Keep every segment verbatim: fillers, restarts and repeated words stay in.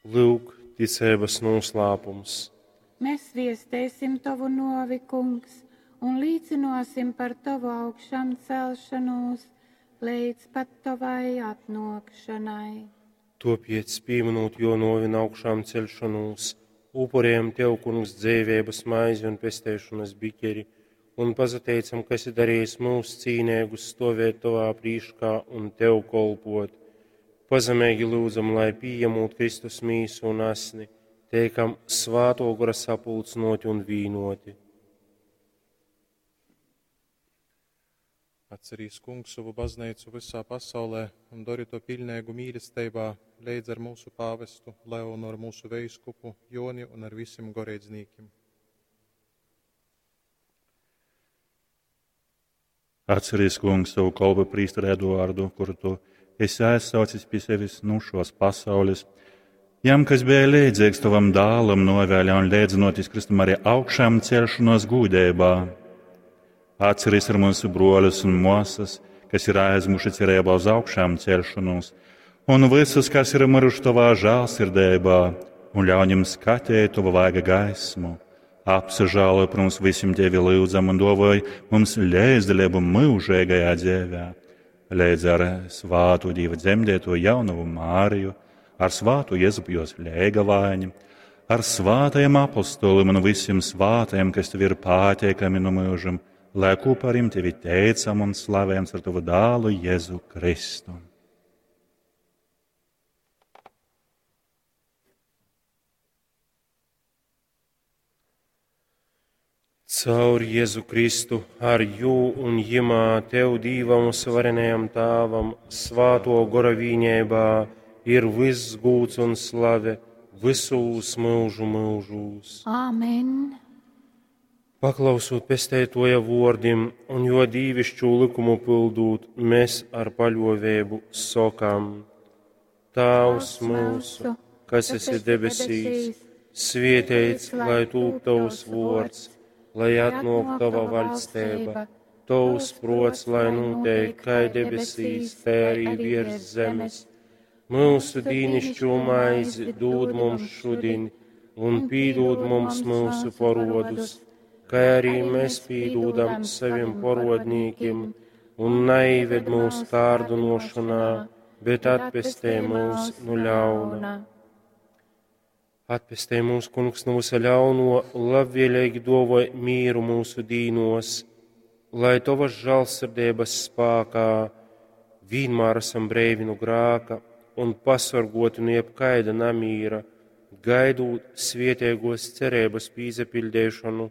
Lūk, ticeibas nūslāpums. Mēs viestēsim tovu novi, kungs, un līcināsim par tovu augšām celšanos līdz pat tavai atnākšanai. Topiec, pieminot jo novi un augšām celšanos, upurējam Tev, kungs, dzīvības maizi un pestēšanas biķeri, un pazateicam, ka esi darījis mūs cīnēgus stovēt Tavā prīškā un Tev kolpot. Pazemīgi lūdzam, lai pieņemot Kristus mīsu un asni, teikam svāto gora sapulcnoti un vīnoti. Atcerīs kungs savu baznīcu visā pasaulē un dori to pilnīgu mīlestībā, leidz ar mūsu pāvestu Leonu, ar mūsu veiskupu Joni un ar visiem goreidznīkiem. Atcerīs kungs savu kolpu prīsteri Eduardu, kuru tu esi aizsaucis pie sevis nu šos pasaules. Jam, kas bija līdzīgs tavam dālam, novēļā un līdzinoties Kristum arī augšām celšanos gūdībā. Atceries ar mūsu broļus un māsas, kas ir aizmuši cerībā uz augšām celšanos, un visus, kas ir miruši tavā žēlsirdībā, un ļauj viņiem skatīt tavu vaiga gaismu. Apsažālo par mums visiem Tevi lūdzam un dovoj mums līdzdalību mūžīgajā dzīvē, līdz ar svātu Dieva dzemdēto jaunavu Māriju, ar svātu Jēzupu jos lēgavāņu, ar svātajiem apostoliem un visiem svātajiem, kas Tev ir pateikami no mūžam, lai kopā ar viņiem Tevi teicam un slavējam ar Tavu dālu Jēzu Kristu. Caur Jēzu Kristu, ar jū un jimā Tev Dīvam un svarenajam Tāvam, svāto gora vīņēbā, ir viss gūts un slave visūs mūžu mūžūs. Āmen! Paklausot pestētoja vordim un jo dīvišķu likumu pildūt, mēs ar paļovēbu sokam. Tēvs mūsu, kas esi debesīs, svietēts, lai tūp tavs vords, lai atnāk tava vaļstība, tavs prots, lai notiek kā debesīs, tā arī virs zemes. Mūsu dīnišķo maizi dod mums šodien, un pīdod mums mūsu porodus, kā arī mēs pīdodam saviem porodnīkiem, un neived mūsu kārdinošanā, bet atpestē mūs no ļauna. Atpestē mūs, kungs, no visa ļauno, labvēlīgi dovoj mīru mūsu dīnos, lai tavas žēlsirdības spākā vienmēr esam breivi no grāka un pasargoti no jebkaida namīra, gaidot svietiegos cerības pīzepildēšanu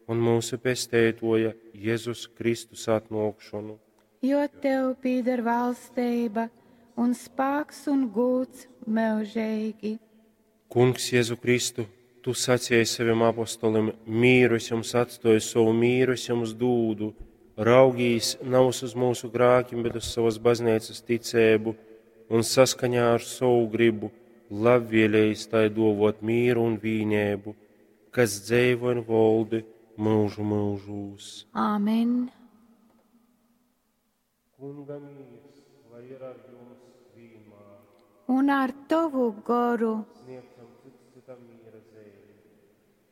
un mūsu pestētoja Jēzus Kristus atnākšanu. Jo tev pīder valstība un spāks un gūts mūžīgi. Kungs Jēzu Kristu, tu sacīji saviem apostolim, mīru es jums atstoju, savu mīru es jums dūdu, raugīs nav uz mūsu grākiem, bet uz savas baznīcas ticēbu un saskaņā ar savu gribu labvēlējis tai dovot mīru un vīnēbu, kas dzēvo un voldi mūžu mūžūs. Āmen! Kunga mīrs, lai ir ar jums vienmēr. Un ar tavu goru. Sniegsim